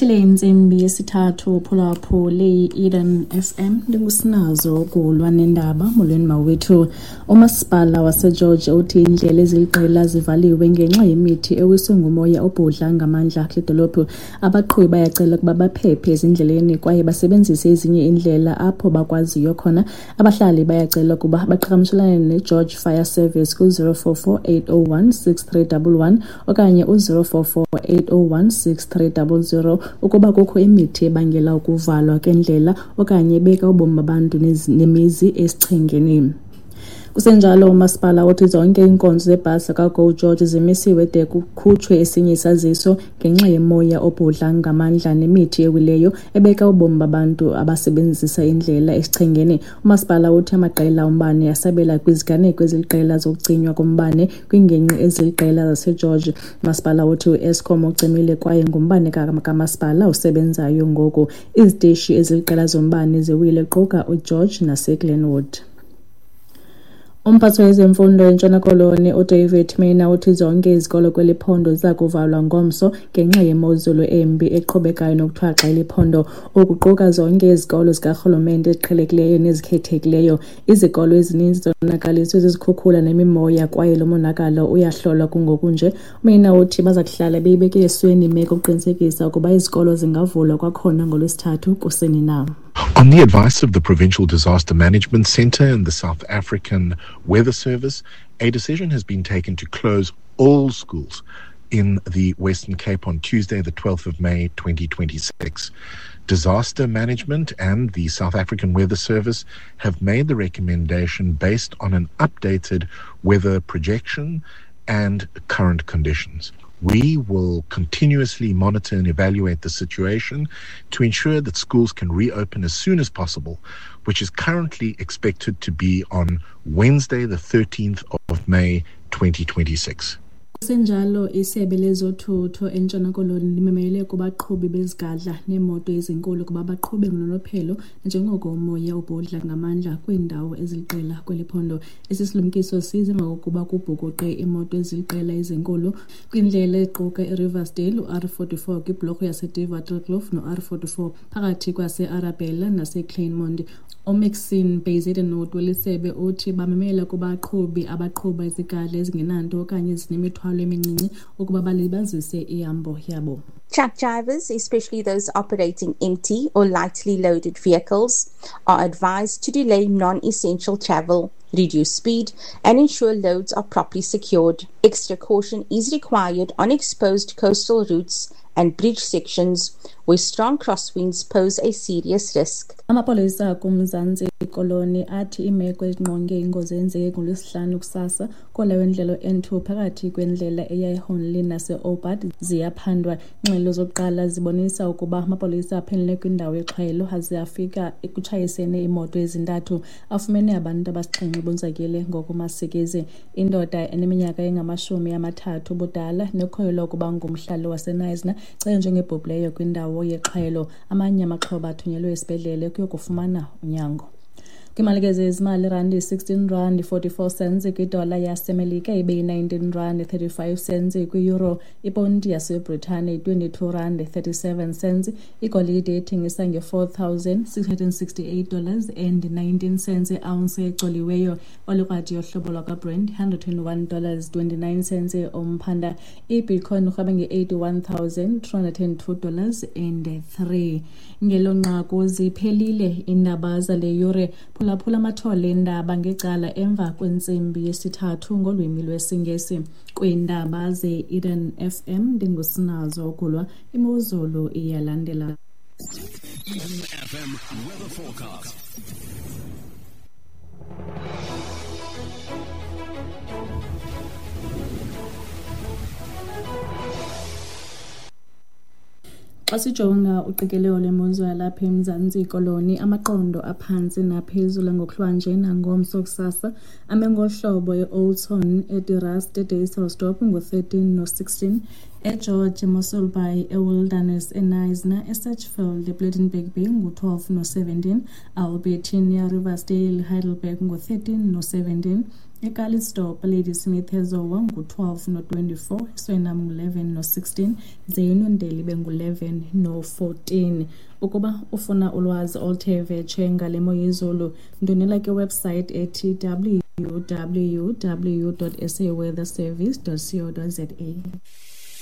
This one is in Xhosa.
Ibethile intsimbi yesithathu phulaphule i-Eden FM, ndingusinazo kulwa nendaba. Molweni mawethu. Umasipala waseGeorge uthi iindlela eziliqela zivaliwe ngenxa yemithi ewiswe ngumoya obhudla ngamandla kule dolophu. Abaqhubi bayacela ukuba baphephe ezindleleni kwaye basebenzise ezinye iindlela apho bakwaziyo khona. Abahlali bayacela ukuba baqhagamshelane neGeorge Fire Service ku-044 801 6311 okanye u-044 801 6300 ukuba kukho imithi ebangela ukuvalwa kwendlela okanye ebeka ubomi babantu nemizi esichengeni. Kusenjalo, umasipala uthi zonke iinkonzo zebhasi zikaGo George zimisiwe de kukhutshwe esinye isaziso ngenxa yemoya obhudla ngamandla nemithi ewileyo ebeka ubomi babantu abasebenzisa indlela esichengeni. Umasipala uthi amaqela ombane asabela kwiziganeko eziliqela zokucinywa kombane kwiingingqi eziliqela zaseGeorge. Umasipala uthi uEskom ucimile kwaye ngumbane kamasipala osebenzayo ngoku. Iziteshi eziliqela zombane ziwile quka uGeorge naseGlenwood. Umphathi wezemfundo eNtshona Koloni uDavid Mina uthi zonke izikolo kweli phondo ziza kuvalwa ngomso ngenxa yemozulu embi eqhubekayo nokuthwaxa eli phondo, ukuquka zonke izikolo zikarhulumente eziqhelekileyo nezikhethekileyo. Izikolo ezininzi zonakaliswe zizikhukhula nemimoya kwaye lo monakalo uyahlolwa kungoku nje. Mina uthi baza kuhlala beyibeke esweni imeko ukuqinisekisa ukuba izikolo zingavulwa kwakhona ngoLwesithathu kusini na. On the advice of the Provincial Disaster Management Centre and the South African Weather Service, a decision has been taken to close all schools in the Western Cape on Tuesday, the 12th of May, 2026. Disaster Management and the South African Weather Service have made the recommendation based on an updated weather projection and current conditions. We will continuously monitor and evaluate the situation to ensure that schools can reopen as soon as possible, which is currently expected to be on Wednesday, the 13th of May, 2026. Kusenjalo, isebe lezothutho eNtshona Koloni limemele kubaqhubi bezigadla neemoto ezinkulu ukuba baqhube ngononophelo njengoko umoya ubhudla ngamandla kwiindawo eziliqela kweli phondo. Esi silumkiso siza emva kokuba kubhukuqe iimoto eziliqela ezinkulu kwindlela equka iRiversdale, u-R44 kwibhlorho yaseDewaterkloof no-R44 phakathi kwase-Arabella naseKleinmond. UMaxine Bezuidenhout welisebe uthi bamemela kubaqhubi abaqhuba izigadla ezingenanto okanye ezinemithwalo emincinci ukuba balibazise ihambo yabo. Truck drivers, especially those operating empty or lightly loaded vehicles, are advised to delay non-essential travel, reduce speed, and ensure loads are properly secured. Extra caution is required on exposed coastal routes and bridge sections where strong crosswinds pose a serious risk. Amapolisa kuMzantsi Koloni athi iimeko ezingqonge ingozi eyenzeke ngoLwesihlanu kusasa kola wendlela N2 phakathi kwendlela eya eHornlie nase-Obad ziyaphandwa. Iingxelo zokuqala zibonisa ukuba amapolisa aphenelele kwindawo yexhwayelo aze afika ekutshayiseni iimoto ezintathu, afumene abantu abasixhenxe bonzakele ngokumasikizi. Indoda eneminyaka engama-30 ubudala nekholelwa ukuba ngumhlali waseKnysna icele njengebhubhileyo kwindawo yexhwayelo. Amanye amaxhoba athunyelwe esibhedlele kuyokufumana unyango. Kwiimali zezimali, irandi 16 rand 44 cents kwidola yaseMelika, ibe yi-19 rand 35 cents kwi-euro, iponti yaseBritane 22 rand 37 cents, igolide ethengisa nge-$4,668 and 19 cents iounce ecoliweyo, olikrwadi yohlobo lwakwaBrent $121 29 cents umphanda, ibitcoin irhweba nge-$81,302 and 3. Ngelo nqaku ziphelile iindaba zale yure. Phulaphula amathole eendaba ngecala emva kwentsimbi yesithathu ngolwimi lwesiNgesi. Kwiindaba ze-Eden FM ndingusinazo Gulwa. Imozulu iyalandela. Eden FM weather forecast. Xa sijonga uqikelelo lwemozulu yalapha eMzantsi Koloni, amaqondo aphantsi naphezulu ngokuhlwanje nangomso kusasa ame ngohlobo: eOudtshoorn, eDe Rust, eDysselsdorp ngu-13 no-16, eGeorge, eMossel Bay, eWilderness, eKnysna, eSedgefield, ePlettenberg Bay ngu-12 no-17, Albertinia, Riversdale, Heidelberg ngu-13 no-17. eCalitzdorp, Ladysmith eZowa ngu-12 no-24, eSwellnum ngu-11 no-16, ze iNondeli ibe ngu-11 no-14. Ukuba ufuna ulwazi oluthe vetshe ngale mo yezulu, ndwendwela kwiwebsite ethi www.saweatherservice.co.za.